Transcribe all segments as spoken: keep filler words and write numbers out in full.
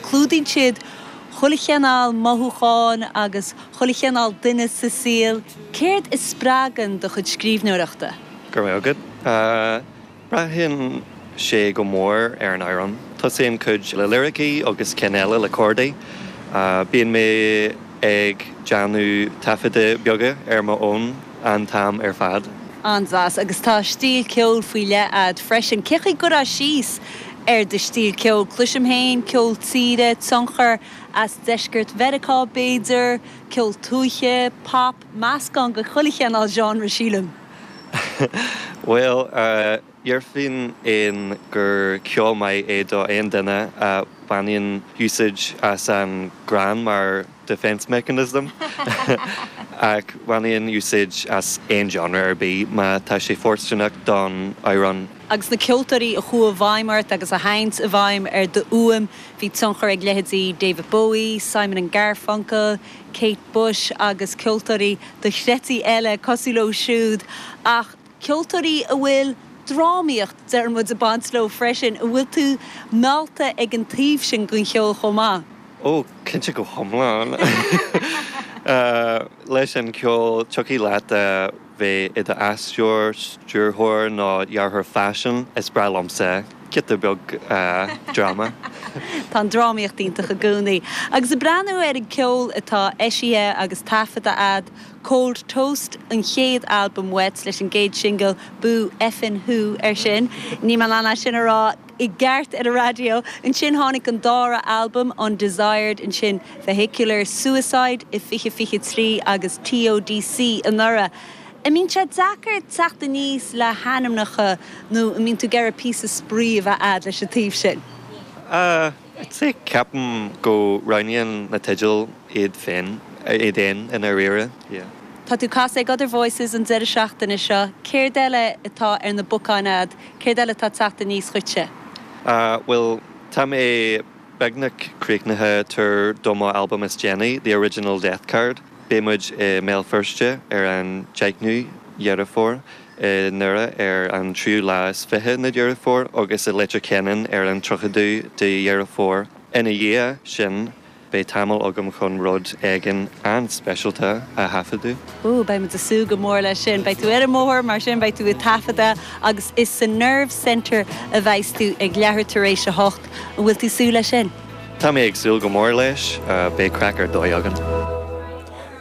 Clúdaíonn siad chuile chineál mothúchán agus chuile chineál duine sa saol. Céard a spreagann do chuid scríbhneoireachta? Go raibh maith agat. Braitheann sé go mór ar an amhrán. Tosaím cuid le liricí agus cinn eile le cordaí. Bíonn mé ag déanamh taifeadta beaga ar mo fhón an t-am ar fad. An-deas agus tá stíl ceoil faoi leith agat freisin. Cén chaoi a gcuirfeá síos ar do stíl ceoil Cloisim féin, ceol tíre, tionchar as deisceart Mheiriceá b'fhéidir, ceol tuaithe, pop, meascán de chuile chineál genre sílim. Well uh, Déarfainn in gur ceol maith é do aon duine a bhaineann úsáid as an greann mar defense mechanism ach bhainfinn úsáid as aon genre ar bith má tá sé fóirsteanach don amhrán. Agus na ceoltóirí a chuaigh i bhfeidhm ort agus a théann i bhfeidhm ar do fhuaim bhí tionchar ag leithéidí David Bowie, Simon and Garfunkel, Kate Bush agus ceoltóirí dochreidte eile cosúil leo siúd ach ceoltóirí a bhfuil drámaíocht deir muid ag baint leo freisin, an bhfuil tú meallta ag an taobh sin den cheol chomh maith. Ó cinnte go hiomlán. Leis an ceol tiocfaidh leat a bheith i d'aisteoir, stiúrthóir nó dearthóir faisin is breá liomsa giota beag dráma. Tá an drámaíocht iontach i gcónaí. Agus ag breathnú ar an ceol atá eisithe agus taifeadta agat Cold Toast an chéad albam uait leis an gcéad singil Boo Effin Who ar sin. Ní man an sin a rá i gceart ar an raidió. Ansin tháinig an dara albam Undesired ansin Vehicular Suicide i fiche fiche trí agus TODC anuraidh. An mbíonn sé deacair teacht aníos le hainmneacha nó an mbíonn tú ag iarraidh píosa spraoi a bheith agat leis an taobh sin. Uh, sé ceapaim go roghnaíonn na teidil iad féin iad féin i ndáiríre. Yeah. Tá tú ag casadh ag Other Voices an deireadh seachtaine seo, céard eile atá ar na bacáin agat, céard eile atá teacht aníos chugatsa? Uh, well, tá mé beagnach críochnaithe tar do mo album is déanaí, The Original Death Card. Beidh muid i mBéal Feirste ar an deichiú Deireadh Fómhair i nDoire ar an tríú lá is fiche de Dheireadh Fómhair agus i Leitir Ceanainn ar an tríochadú de Dheireadh Fómhair. Ina dhiaidh sin beidh tamall agam chun rud éigin an-speisialta a thaifeadadh. Ó beidh muid ag súil go mór leis sin, beidh tú ar an mbóthar mar sin beidh tú ag taifeadadh agus is sa Nerve Centre a bheas tú ag leathuair tar éis a hocht an bhfuil tú ag súil leis sin. Tá mé ag súil go mór leis, beidh craic ar dóigh againn.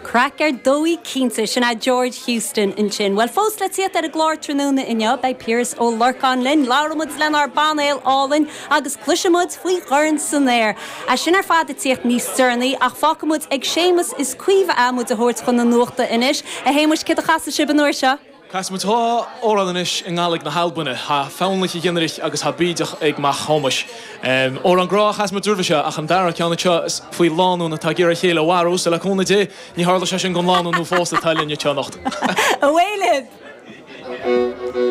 Craic ar dóigh cinnte sin é George Houston ansin. Well fós le tíocht ar an gclár tráthnóna inniu beidh Piaras Ó Lorcáin linn, labhróidh muid lenár bpainéal álainn agus cloisfimid faoi Dhorn san Aer. É sin ar fad ag tíocht níos deireanaí ach fágfaimid ag Séamus is Caoimhe é muid a thabhairt chun na nuachta anois a Shéamuis céard a chasfaidh sibh an uair seo. Casfaimid dhá amhrán anois i nGaidhlig na hAlban Tá Fonn a' Ghionnaireach agus Tá Bídeach ag Mac Thomáis. Um, Amhrán grá chas muid roimhe seo ach an dara ceann seo is faoi lánúin atá ag iarraidh a chéile a mharú le cúnamh Dé ní tharla sé sin don lánúin nó fós atá linne anocht. Away libh!